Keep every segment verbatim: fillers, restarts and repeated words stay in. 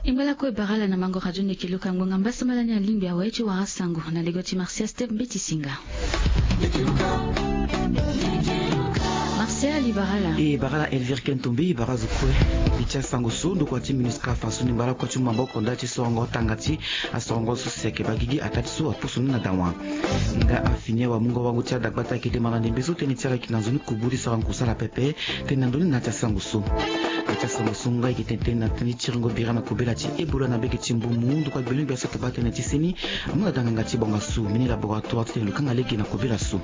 E ngba lakue bara ala na mango radio ndeke luka ngbonga mbasambala ni alingbi awe ti wara sango na lego ti Martial Step Mbeti Singa. Martial, e bara ala. E bara ala Elvire Kentombe, e bara azo kue. Li ti asango so ndokua ti MINUSCA afa so ni ngba lakue ti mu maboko ndali ti sorongo tanga ti asorongo so si ayeke bagigi ataa ti so apusu ni na dawa. Nga afini awamungo wango ti adagbata ayeke demanda ndembe so tënë ti ala ayeke na nzoni kubu ti sara ngu kusala pepe. Tënë na ndoni na ya ti asango so. Na ya ti asango so nga ayeke tene tënë na tënë ti tiringo bira na kobela ti Ebola na mbege ti Mbomou ndokua gbeno gbia so ayeke baa tënë ti seni amu na danganga ti bonga so mbeni laboratoire ti tene lo kanga lege na kobela so.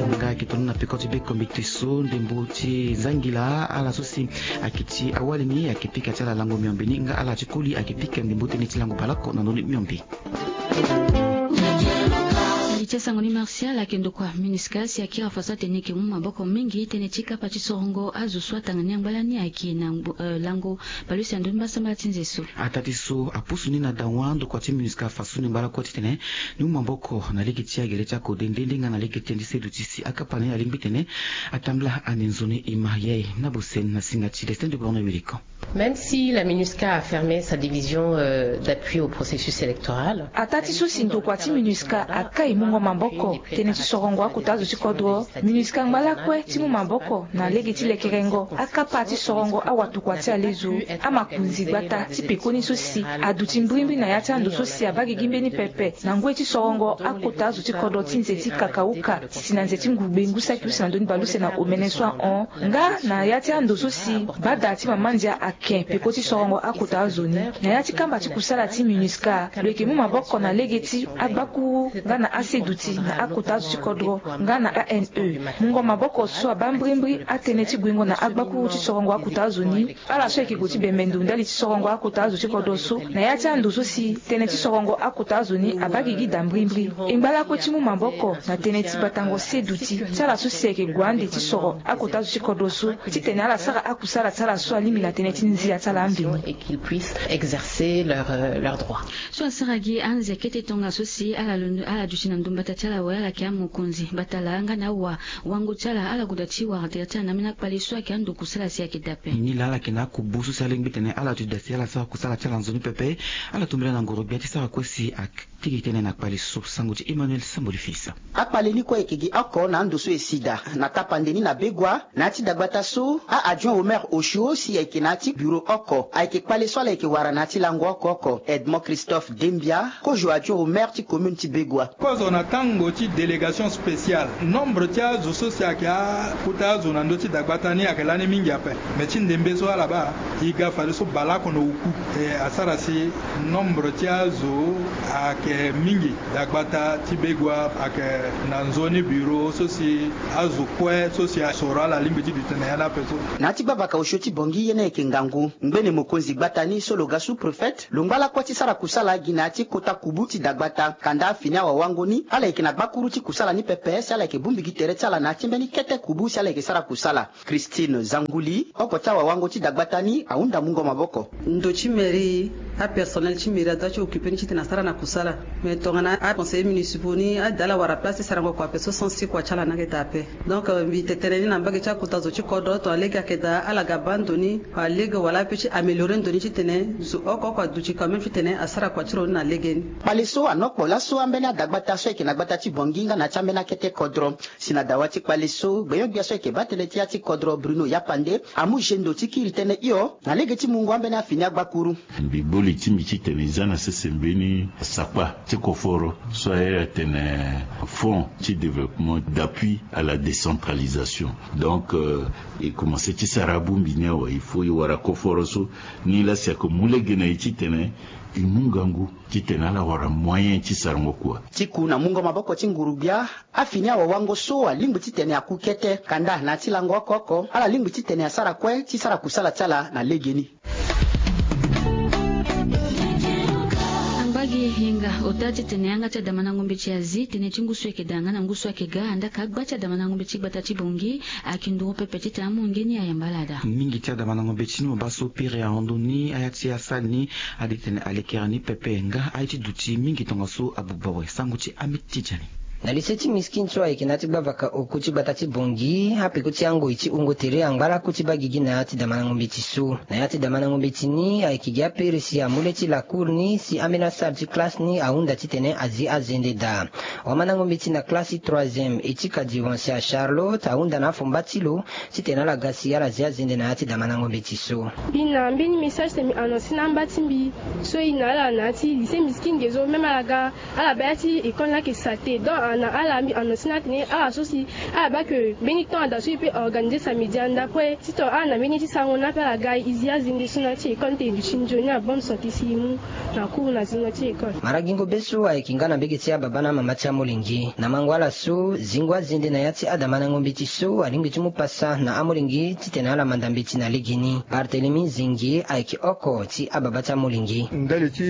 Nga ayeke tono na peko ti be kombite so ndembo ti zangila ala so si ayeke ti awali ni ayeke pika ti ala lango miombe ni nga ala ti koli ayeke pika ndembo tënë ti lango baleoko na ndoni miombe. Li ti asango ni Martial ayeke ndokua MINUSCA si akiri afa so atene e yeke mu maboko mingi tënë ti kapa ti sorongo azo so atanga ni angba lani ayeke na ngbo- eh, lango baleuse na ndö ti mbasambala ti nze so. Ataa ti so apusu ni na dawa ndokua ti MINUSCA afa so ni ngba lakue titene ni mu maboko na lege ti agere ti akode nde nde nga na lege ti tënë ti seduti si akapa ni alingbi titene atambula ande nzoni e ma ye na boseni na singa ti Lestin de Borno Wiliko. Même si la MINUSCA a fermé sa division, euh, d'appui au processus électoral. Ataa ti so si ndokua ti MINUSCA akai mungo maboko tënë ti sorongo akota azo ti kodro, MINUSCA ngba lakue ti mu maboko na lege ti lekerengo akapa ti sorongo awatokua ti alezo, amakonzi gbata ti pekoni so si aduti mbrimbri na ya ti ando so si abaa gigi mbeni pepe na ngoi ti sorongo akota azo ti kodro ti nze ti kakauka. Si na nze ti ngugbe ngu saki use na ndö ni baleuse na omene so ahon nga na ya ti ando so si bada ti mama ndia ake peko ti sorongo akota azo ni. Na ya ti kamba ti kusala ti MINUSCA lo yeke mu maboko na lege ti agbakuru nga na aseduti na akota azo ti kodro nga na A N E. Mungo maboko so abaa mbrimbri atënë ti guingo na agbakuru ti sorongo akota azo ni. Ala so ayeke gue ti bembe ndo ndali ti sorongo akota azo ti kodro so na ya ti ando so si tënë ti sorongo akota azo ni abaa gigi daa mbrimbri. E ngba lakue ti mu maboko na tënë ti batango seduti ti ala so si ayeke gue ande ti soro akota azo ti kodro so titene ala sara akusala ti ala so alingbi na tënë ti nzia ti ala ambeni. Et qu'ils puissent exercer leur, euh, leur droit. So asara gi anze kete tongaso si ala londo ala duti na ndo mbata ti ala awe ala yeke amokonzi mbata laa nga na awa wango ti ala ala goda ti wara tere ti ala na ambeni akpale so ayeke ando kusala si ayeke dape. Ni laa ala yeke na akubu so si alingbi tene ala duti daa si ala sara kusala ti ala nzoni pepe. Ala tombela na ngoro gbia ti sara kue si atigi tënë na kpale so sango ti Emmanuel Samboli Fils. Akpale ni kue ayeke gi oko na ando so e si daa na tapande ni na Begoua. Na ya ti dagbata so a-adjoint au maire osio si ayeke na ya ti bureau oko ayeke kpale so ala yeke wara na ya ti lango oko oko Edmond Christophe Dembia, kozo adjoint au maire ti commune ti Begoua. Kozo na tango ti délégation spéciale nombre ti azo so si ayeke akota azo na ndö ti dagbata ni ayeke lani mingi ape. Me ti ndembe so ala baa e ga fadeso baleoko na oku. E asara si nombre ti azo ayeke mingi. Dagbata ti Begoua ayeke na nzoni bureau so si azo kue so si asoro ala lingbi ti duti na ya ni ape so. Na ya ti gbavaka osio ti Bangui ye ni ayeke ngangu ngbene mokonzi gbata ni so lo ga sous-préfet lo ngba lakue ti sara kusala gi na ya ti kota kubu ti dagbata kanda afini awawango ni ala yeke na gbakuru ti kusala ni pepe si ala yeke bongbi gi tere ti ala na ya ti mbeni kete kubu si ala yeke sara kusala. Christine Zanguli, oko ti awawango ti dagbata ni ahunda mungo maboko. Ndo ti mairie, apersonnel ti mairie adoit ti occuper ni titene asara na kusala. Mais tongana aconseillers municipaux ni ade ala wara place ti sarango kua ape so sens ti kua ti ala ni ayeke daa ape. Donc, euh, mbi tene tënë ni na mbage ti akota zo ti kodro tongana lege ayeke daa ala ga baa ndo ni, wala lege wala ape ti améliorer ndo ni titene zo oko oko aduti quand même titene asara kua ti lo ni na lege ni. Kpale so anokpo laso ambeni adagbata so ayeke na gbata ti Bangui nga na ya ti ambeni akete kodro. Si na dawa ti kpale so gbenyo-gbia so ayeke baa tënë ti ya ti kodro Bruno Yapande amu zendo ti kiri tënë hio na lege ti mungo ambeni afini agbakuru. Mbi boli ti mbi titene e za na sese mbeni sakpa ti koforo so aye atene Fonds ti développement d'appui à la décentralisation. Donc, euh, e komanse ti sara abongbi ni awe, il faut e wara koforo so ni laa si ayeke mu lege na e titene e mu ngangu titene ala wara moyen ti sarango kua. Ti ku na mungo maboko ti nguru-gbia, afini awawango so alingbi titene aku kete kanda na ya ti lango oko oko ala lingbi titene asara kue ti sara kusala ti ala na legeni. Angba gi hinga ota titene yanga ti adamandango mbeti azi tënë ti ngu so ayeke daa nga na ngu so ayeke ga andaa ka agba ti adamandango mbeti ti gbata ti Bangui ayeke nduru pepe titene amu nge ni ayamba ala daa. Mingi ti adamandango mbeti ni mo baa so piri ahon ndo ni aya ti asali ni ade titene alekere ni pepe nga aye ti duti mingi tongaso abuba awe. Sango ti Amit Tidjani. Na lycée ti Miskin so ayeke na ya ti gbavaka oku ti gbata ti Bangui, apeko ti angoi ti wungo tere angba laku ti baa gigi na ya ti damandango mbeti so. Na ya ti damandango mbeti ni ayeke gi aperesi amu le ti lacour ni si ambeni asara ti classe ni ahunda titene azi azende daa. Wamandango mbeti na classe ti troisième, Etika Diwansia Charlotte, ahunda na afomba ti lo titene ala ga si ala zi azende na ya ti damandango mbeti so. Mbi na mbeni message tene mbi annonce na amba ti mbi so e na ala na ya ti lycée Miskin ge so, même ala ga, ala baa ya ti école ni ayeke saleté. Donc na ala mbi annonce na ala tene ala so si ala baa ke mbeni temps ada so e peut organiser samedi anda après, titene ala na mbeni ye ti sarango ni ape, ala ga e zi azende so na ya ti école ni tene e duti nzoni na bonne santé si e mu na cours na zingo ti école. Mara gingo be so ayeke nga na mbege ti ababa na amama ti amolenge. Na mango ala so, zingo azende na ya ti adamandango mbeti so alingbi ti mu pasa na amolenge titene ala manda mbeti na legeni. Barthélemy Zingi ayeke oko ti ababa ti amolenge. Ndali ti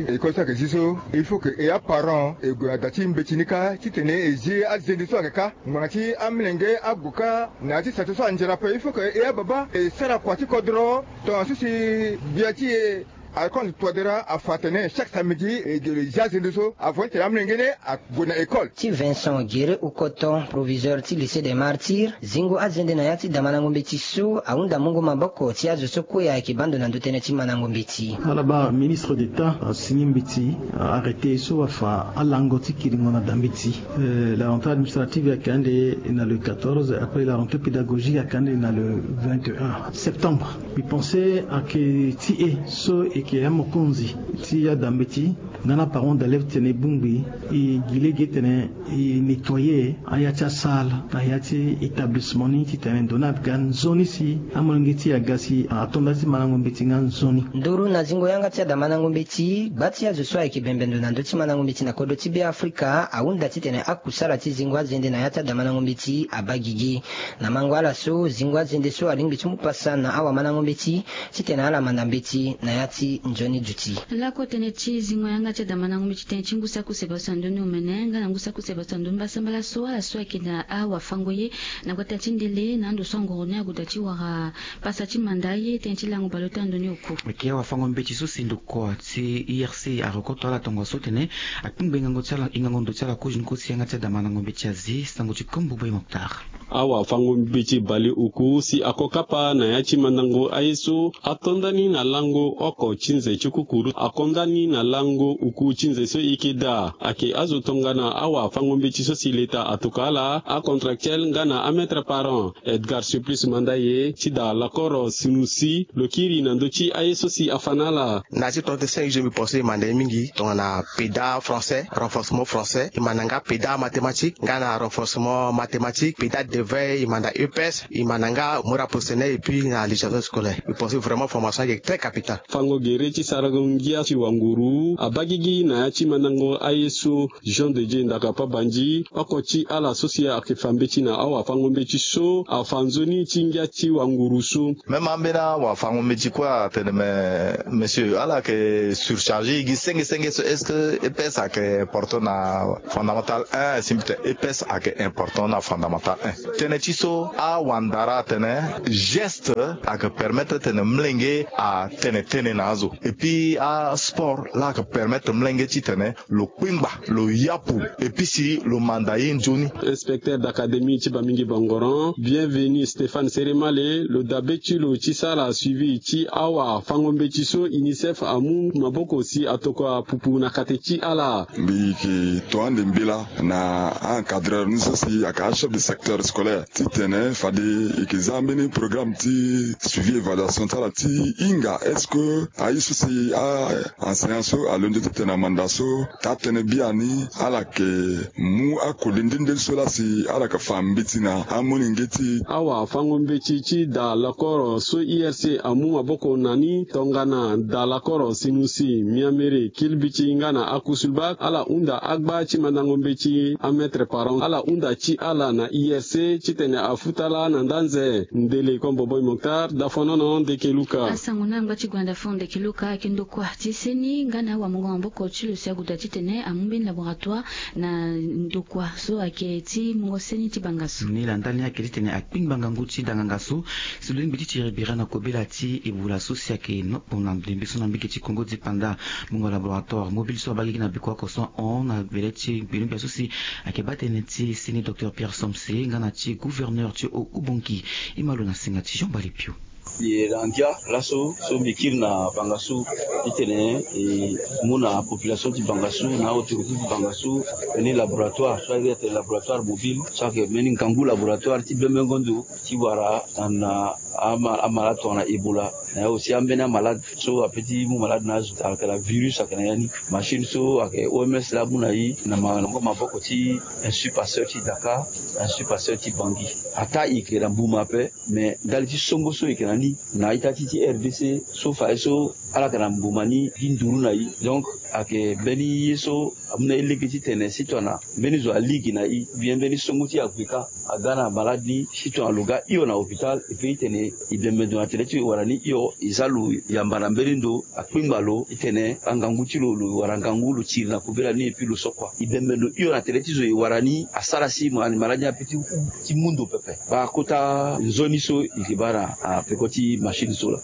école so ayeke zi so, il faut que e aparent e gue na da ti mbeti ni kâ titene e zi azende so ayeke kâ. Ngbanga ti amolenge ague kâ na ya ti sate so anzere ape, il faut que e ababa e sara kua ti kodro. Tongaso si gbia ti e Alphonse Touadéra afa atene chaque samedi e zi azende so avant titene amolenge ni ague na école. Ti Vincent Guéré Oukoton, proviseur ti lycée des Martyrs, zingo azende na ya ti damandango mbeti so ahunda mungo maboko ti azo so kue ayeke baa ndo na ndö tënë ti mandango mbeti. Ala baa ministre d'État asini mbeti arrêté so afa alango ti kiringo na da mbeti. Euh, la rentrée administrative ayeke ande na le quatorze, après la rentrée pédagogique ayeke ande na le vingt et un septembre. Mbi pense ayeke ti e so e yeke amokonzi ti ada mbeti nga na aparent d'élève titene e bongbi, e gi lege titene e nettoyer aya ti asalle na ya ti établissement ni titene ndo ni aga nzoni si amolenge ti e aga si ato nda ti mandango mbeti nga nzoni. Nduru na zingo yanga ti adamandango mbeti, gba ti azo so ayeke bembe ndo na ndö ti mandango mbeti na kodro ti Beafrika ahunda titene akusala ti zingo azende na ya ti adamandango mbeti abaa gigi. Na mango ala so, zingo azende so alingbi ti mu pasa na awamandango mbeti titene ala manda mbeti na ya ti nzoni duti. Lakue tënë ti zingo yanga ti adamandango mbeti, tënë ti ngu saki use basa ndo ni omene nga na ngu saki use basa ndo ni mbasambala so, ala so ayeke na awafango ye na gbata ti ndele na ando so angoro ni ague daa ti wara pasa ti manda aye, tënë ti lango baleota ndo ni oku. Ayeke awafango mbeti so si ndokua ti I R C arokoto ala tongaso titene akpingba hingango ti ala, hingango ndo ti ala kozoni kosi yanga ti adamandango mbeti azi sango ti Kombo Boy Mokhtar. Awafango mbeti baleoku si ako kapa na ya ti mandango aye so ato nda ni na lango oko ti nze ti kukuru, ako nda ni na lango oku ti nze so e yeke daa. Ayeke azo tongana awafango mbeti so si leta atokua ala, acontractuel nga na amaître parent. Edgar Supplice Mandaye ti daa lakoro sunu si lo kiri na ndö ti aye so si afa na ala. Na ya ti trente-cinq juillet mbi pense e manda ye mingi tongana PEDA français, renforcement français, e manda nga PEDA mathématique nga na renforcement mathématique, PEDA d'éveil, e manda E P S, e manda nga moral professionnel et puis na législation scolaire. Mbi pense vraiment formation ayeke très capitale. Fango gere ti sarango ngia ti wanguru abaa gigi na ya ti mandango aye so. Jean de Dieu Ndaka Pabandi, oko ti ala so si ayeke fa mbeti na awafango mbeti so, afa nzoni ti ngia ti wanguru so. Même ambeni awafango mbeti kue atene, mais monsieur, ala yeke surchargé, e gi senge senge so, est-ce que E P S ayeke important na fondamental un? Si mbi tene E P S ayeke important na fondamental un. Tënë ti so, awandara atene geste ayeke permettre tene molenge atene tënë na azo. Et puis asport laa ayeke permettre molenge titene lo kpingba, lo yapu, et puis si lo manda ye nzoni. Inspecteur d'académie ti Bamingi Bangoran, Bienvenu Stéphane Seremale, lo dabe ti lo ti sara suivi ti awafango mbeti so UNICEF amu maboko si atokua pupu na kate ti ala. Mbi yeke to ande mbela na a-encadreur ni so si ayeke achef de secteur scolaire titene fade e yeke za mbeni programme ti suivi évaluation ti ala ti hinga est-ce que aye so si a-enseignant so alondo titene amanda so taa tënë biani ala yeke mu akoli nde nde so laa si ala yeke fa mbeti na amolenge ti e. Awafango mbeti ti daa lakoro so I R C amu maboko na ni tongana daa lakoro sinusi, miamere, kilbiti nga na akusulba, ala hunda agba ti mandango mbeti, amaître parent, ala hunda ti ala na I R C titene afuta laa na nda nze. Ndele Kombo Boy Mokhtar, Dafonono Ndeke Luka. Asango na ngba ti Gwanda Fo Ndeke. Eloka ayeke ndokua ti seni nga na awamungo maboko ti lo si ague daa titene amu mbeni laboratoire na ndokua so ayeke ti mungo seni ti bangasu. Ni laa ndali ni ayeke titene akpingba ngangu ti da nganga so si lo lingbi ti tiri bira na kobela ti Ebola so si ayeke nopo na ndembe so na mbage ti Congo dipanda. Mungo laboratoire mobile so abaa gigi na beko oko so ahon na vele ti gbenegbia so si ayeke baa tënë ti seni docteur Pierre Somse nga na ti gouverneur ti Haut-Ubangi. E ma lo na singa ti Jean Bali Pio. Ye na ngia laso so mbi kiri na bangasu titene e mu na population ti bangasu na autorité ti bangasu mbeni laboratoire so ayeke tene laboratoire mobile so ayeke mbeni ngangu laboratoire ti bembengo ndo ti wara na na ama- amalade tongana Ebola. Na ya aussi ambeni amalade so ape ti mu malade na azo ayeke na virus ayeke na ya ni. Machine so ayeke O M S laa amu na e na ma- na ngonga maboko ti Institut Pasteur ti Dakar, Institut Pasteur ti Bangui. Ataa e yeke na mbuma ape. Mais ndali ti songo so e yeke na ni na ita ti ti R D C so fae so ala yeke na mbuma ni gi nduru na e. Donc ayeke mbeni ye so amu na e lege titene si tongana mbeni zo aligi na e, bien mbeni songo ti e ague kâ aga na malade ni si tongana lo ga hio na hôpital. E peut titene e bembe ndo na tere ti lo e wara ni hio, e za lo yamba na mbeni ndo, akpingba lo titene angangu ti lo lo wara ngangu lo tiri na kobela ni et puis lo so kua. E bembe ndo hio na tere ti zo e wara ni asara si ma- malade ni ape ti hû ti mu ndo pepe. Baa kota nzoni so e yeke baa na apeko ti machine so laa.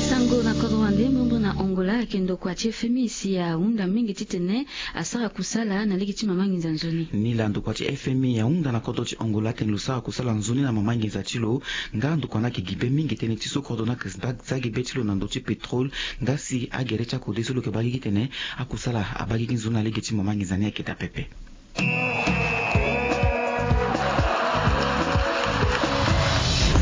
Sango na kodro wande mbrimbri na Angola ayeke ndokua ti F M I si ahunda mingi titene asara kusala na lege ti mama nginza nzoni. Ni laa ndokua ti F M I ahunda na kodro ti Angola titene lo sara kusala nzoni na mama nginza ti lo. Nga ndokua ni ayeke gi be mingi tënë ti so kodro ni ayeke za gi be ti lo na ndö ti pétrole. Nga si agere ti akode so lo yeke baa gigi titene akusala abaa gigi nzoni na lege ti mama nginza ni ayeke daa pepe.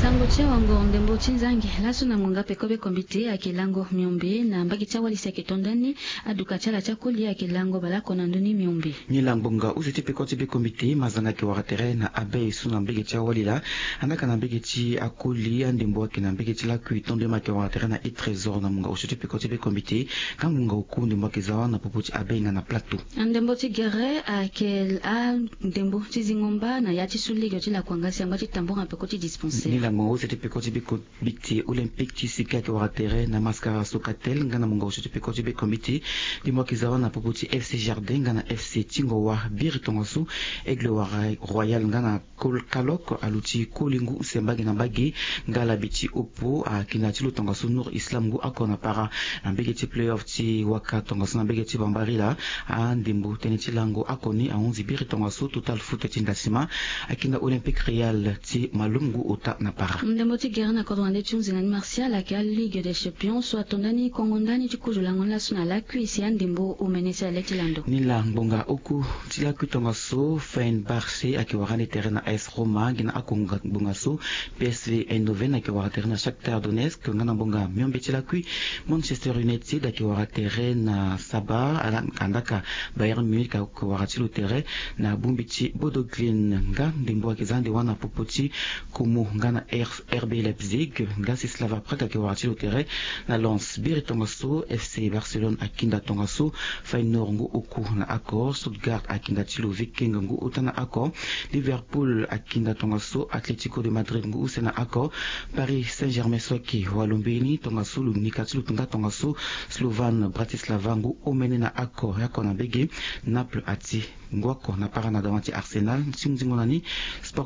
Sango ti awangoro ndembo ti nzangi laso na ngonga peko be kombite ayeke lango miombe na mbage ti awali si ayeke to ndani. Aduka ti ala ti akoli ayeke lango baleoko na ndö ni miombe. Ni laa ngbonga use ti peko ti be kombite mazanga ayeke wara tere na abeille so na mbage ti awali laa. Andaka na mbage ti akoli andembo ayeke na mbage ti lakui to nde ma ayeke wara tere na e trésor na ngbonga use ti peko ti be kombite. Nga ngbonga oku ndembo ayeke za wâ na popo ti abeille nga na plateau. Andembo ti gere ayeke andembo ti zingo mba na ya ti su lege ti lakua nga si angba ti tambura peko ti dispensaire. Ni laa ngbonga use ti peko ti be kombite olympique ti sika ayeke wara tere na mascara sokatel nga na ngbonga use ti peko ti be kombite. Ndembo ayeke za wâ na popo ti F C jardin nga na F C tingo wa biri tongaso aigle wara royal nga na Kol- kalok aluti koli ngu use mbage na mbage. Nga labi ti opo akinda ti lo tongaso nour islam ngu oko na para na mbage ti playoff ti waka tongaso na mbage ti bambari laa. Andembo tënë ti lango oko ni ahunzi biri tongaso total foot ti ndasima akinda olympique réal ti malum ngu ota na para. Ndembo ti gere na kodro wande ti hunzi na ni martial ayeke aligue des champions so ato ndani kongo ndani ti kozo lango ni laso na lakui si andembo omene si ale ti lando. Ni laa ngbonga oku ti lakui tongaso fenerbahce ayeke wara ni tere na as roma gi na akonga ngbonga so. P S V eindhoven ayeke wara tere na shakhtar donetsk nga na ngbonga miombe ti lakui manchester united ayeke wara tere na saba. Andaka bayern munich ayeke wara ti lo tere na bongbi ti bodo glimt nga ndembo ayeke za ande wâ na popo ti komo nga na rb leipzig. Nga si slava prague ayeke wara ti lo tere na lens biri tongaso. F C barcelone akinda tongaso feyenoord ngu oku na oko. Stuttgart akinda ti lo viking ngu ota na oko. Liverpool akinda tongaso atletico de madrid ngu use na oko. Paris saint germain so ayeke walo mbeni tongaso lo nika ti lo nga tongaso slovan bratislava ngu omene na oko oko na mbege. Naples ati ngu oko na para na dawa ti arsenal ti hunzingo na ni. Sport